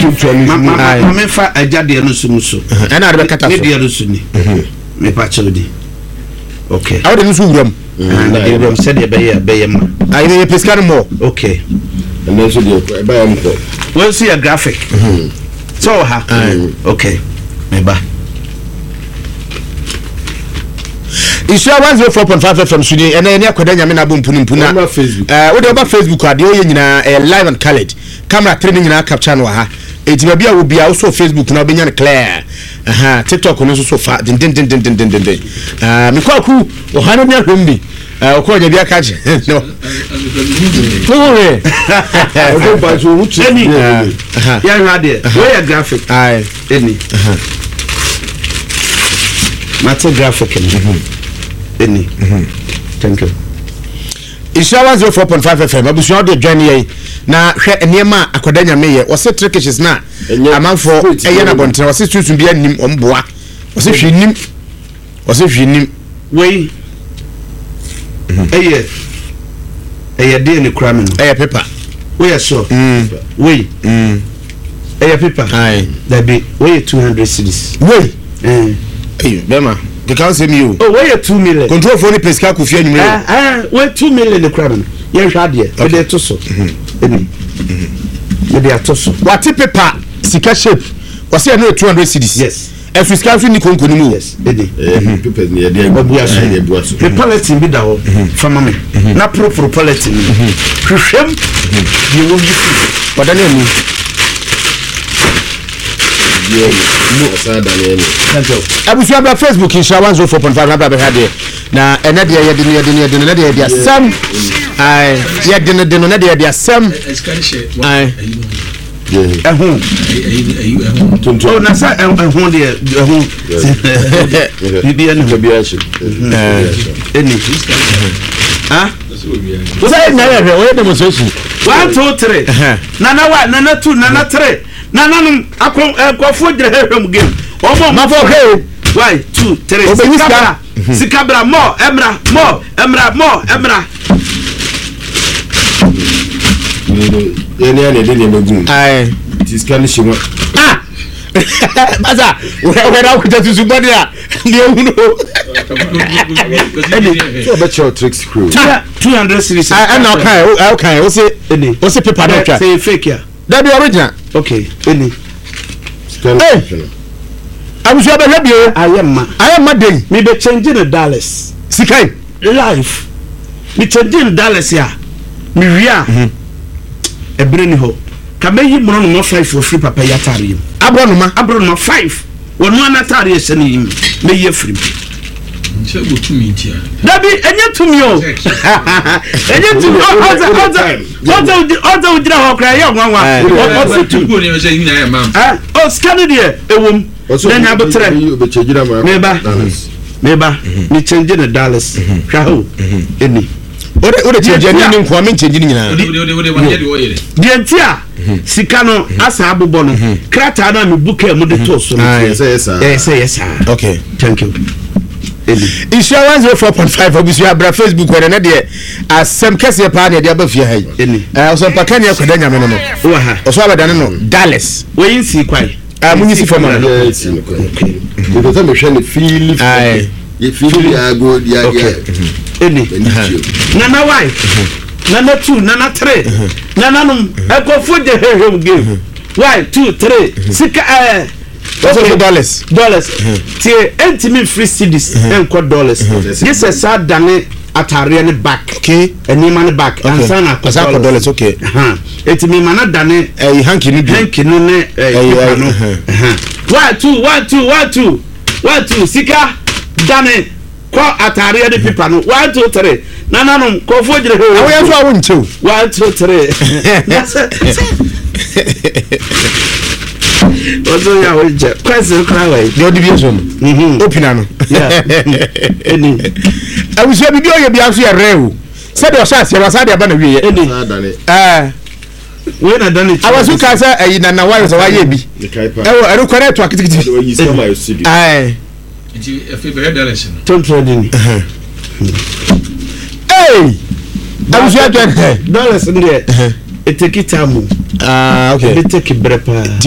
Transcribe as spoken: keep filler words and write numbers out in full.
Ntontoa no Ma ma ma Aye. ma mefa agya deɛ no so mu so. Ɛna ade bɛkata Ne so. deɛ no so ni. Mepa kyɛw di. Okay. Awo de no nso wura mu. Ah, na deɛ wura mu sɛdeɛ ɛbɛyɛ a ɛbɛyɛ ma. Ayi yɛ pesika no mɔ. Okay. Ɛnɛ nso deɛ ɛbɛyɛ m kɔ. Wɔn nso yɛ graphic. Sɛ wɔ ha. Okay. Meba. Nhyira one zero four point five F M so ni. Ɛnɛ yɛne Akwadaa Nyame na abɔ mpunu mpunu na Wɔmmra Facebook. ɛɛ wode ɔba Facebook a, deɛ ɔyɛ nyinaa ɛyɛ live and coloured. Camera three ne nyinaa capture no wɔ ha. Eti baabi a wɔ bia wosɔ Facebook na wobɛnya no clear. Aha, TikTok no nso so fa dendendendendendenden. Ɛɛ mekɔ aku ɔha no ne ahwɛm bi. Ɛɛ ɔkɔ ɔnya bi aka kyerɛ no. Wo hwɛ. Ɔdɔ ba so owu kyerɛ. Ɛni. Aha. Yɛhwɛ adeɛ. Wei yɛ graphic. Aye. Ɛni. Mate graphic no. Ɛni. Thank you. Nhyira one zero four point five F M abusua, wode dwan yɛn na hwɛ nneɛma a Akwadaa Nyame yɛ. Wɔse trikishes na Ɛnyɛ amanfoɔ straight. Ɛyɛ no abɔntene. Wɔse sunsun bi anim ɔm boa. Wɔse hwee nim, wɔse hwee nim. Wei ɛyɛ ɛyɛ deɛ ne kura mi no. Ɛyɛ paper. Woyɛ sure? Mm. Wei Mm. ɛyɛ paper? Aye. Dabi, wei yɛ two hundred cedis. Wei? Ɛn. Ɛyi bɛrima keka nsɛm yi o. Oh, wei yɛ two million. Controlfoɔ ne pesika kɔ fie anwummerɛ o. Ɛɛ ɛɛ wei two million ne kura mi no. Yɛnhwɛ adeɛ. Mede to so. Ɛni. Mede ato so. Wate paper sika shape, wɔse ɛno yɛ two hundred cedis. Yes. Ɛso sika nso ni konko no mu o. Yes. Ɛni. Ɛɛ papers ni yɛde Wabua so. Yɛde abua so. Me polythene bi da hɔ. Fama me. Na poroporo polythene no. Hwehwɛm. Deɛ wɔyi fi. Ɔda ne ani. Deɛ ni ɔsan da ne ɛni. Thank you. Abusua, bra Facebook Nhyira one zero four point five na bra bɛhwɛ adeɛ. Na ɛnɛ deɛ yɛde no yɛde no yɛde no ɛnɛ deɛ yɛde asɛm. Ae, yɛde no de no ɛnɛ deɛ yɛde asɛm. Ae. Ɛho. Tontoa. Oh, na sɛ ɛho deɛ, ɛho. Biribi ɛni hɔ. Bi ahyɛ. Ɛni. Ah? Sɛ ɛnyɛ yɛ hwɛ ɔyɛ demonstration. One, two, three. Nana one, nana two, nana three. Nananom akɔ nkɔfoɔ gyina hwehwɛ mu game. Ɔmo Mafɔ hwɛ o. One, two, three. Obeyi Sika sika. bra. Sika bra mɔ ɛmra mɔ ɛmra mɔ ɛmra. Yɛne yɛne yɛde nneɛma gu mu. Ae. Nti sika no hyɛ mu. Ah, masa wɛ na akuta susu bɔde a deɛ ehunu o. Ɛne sɛ ɔbɛkyerɛ wo tricks kuro. Two hundred cedis. Ɛna ɔkan ɔkan ɔse Ɛni. ɔse paper no twa. Sɛ yɛ fake a. Dabi, original. Okay. Ɛni. Sika no Hey! hyɛ no. Abusua, bɛhwɛ bio. Ayɛ mma. Ayɛ mma den. Mi bɛ change no dollars. Sika yi. Life. Mi change no dollars a. Mi wie a. Ɛbɛrɛ ni hɔ. Ka bɛ yi borɔnoma five wɔ firi papa yi ataare yi mu. Aborɔnoma? Aborɔnoma five. Wɔn ano ataare ɛhyɛ ne yi mu. Mɛ yi afiri mu. Dabi, ɛnyɛ tumi o, ɛnyɛ tumi. Ɔsɛ ɔsɛ ɔsɛ ɔsɛ ogyina hɔ koraa ɛyɛ nwanwa. Ɔsɛ tumi ɛ ɔ sika no deɛ ɛwɔ mu na nya abotire. Meba, meba, mi change ne dollars. Hwɛ ha o, ɛni. O de o de change ni ne nkoa mi change ni nyinaa. Deɛ nti a sika no asa abobɔ no, krataa no a mebu kaa mu de too so no. Aye. Ɛsɛ yɛ saa. Ɛyɛ sɛ yɛ saa. Okay. Thank you. Ɛni. Nhyira one zero four point five, abusua, abra Facebook. Wɔ ne deɛ asɛm kɛseɛ paa na yɛde aba fie ha yi. Ɛni. Ɛɛ ɔsɛmpa ne Akwadaa Nyame no no Wɔ ha. Ɔso abɛdane no dollars. Wɔyi nsi kwae. Ah, munyi si fam ana? Yɛ si no kwan. Mepɛ sɛ mehwɛ ne fiili. Aye. Yɛ fiili ago ya Okay. ya. Ɛni. N'ani tie. Nana one, nana two, nana three, nananom nkɔfoɔ gye hwehwɛ game. One, two, three, sika ɛɛ. Wɔsɛ sɛ dollars. Dollars tie, ɛntumi nfiri cedis ɛnkɔ dollars gye sɛ saa dane ataareɛ ne back. Okay. Nneɛma ne back Okay. ansa na akɔ. Ansa akɔ dollars, okay. Eti mi ma na dane. Ɛyi hanky no bi. Hanky no ne ɛɛ Ɛyi, paper ɛyi, no. ɛhɛn. Ɛhɛn. One, two, one, two, one, two, one, two, sika dane kɔ ataareɛ ne paper no. One, two, three, nananom kɔfoɔ gyina hɔ. Awo yɛn nso awo nkyɛw. One, two, three. Wɔn yɛ awo nkyɛn kwasi kora wɔ yi. Deɛ ɔde bi nso no Mhm. opina no. Yeah. Ɛni. Abusua, bibi ɔyɛ bi nso yɛ rɛ o, sɛdeɛ ɔhyɛ aseɛ wasa de aba na wie yɛ. Ɛni. Saa dane. Ɛɛ Wei na dane. Awasu ka sɛ ɛyi nana wayɛ sɛ wayɛ bi. Mekae paa. Ɛwɔ ɛno kwan ɛto akitikiti. Ɔde wayi sika ma yɛ studio. Ɛɛ Nti afei bɛhwɛ dollars no. Tontura di ni. Ee, abusua, twɛn. Dollars n deɛ, e take time o. Ah, okay. Ebi take brɛ paa.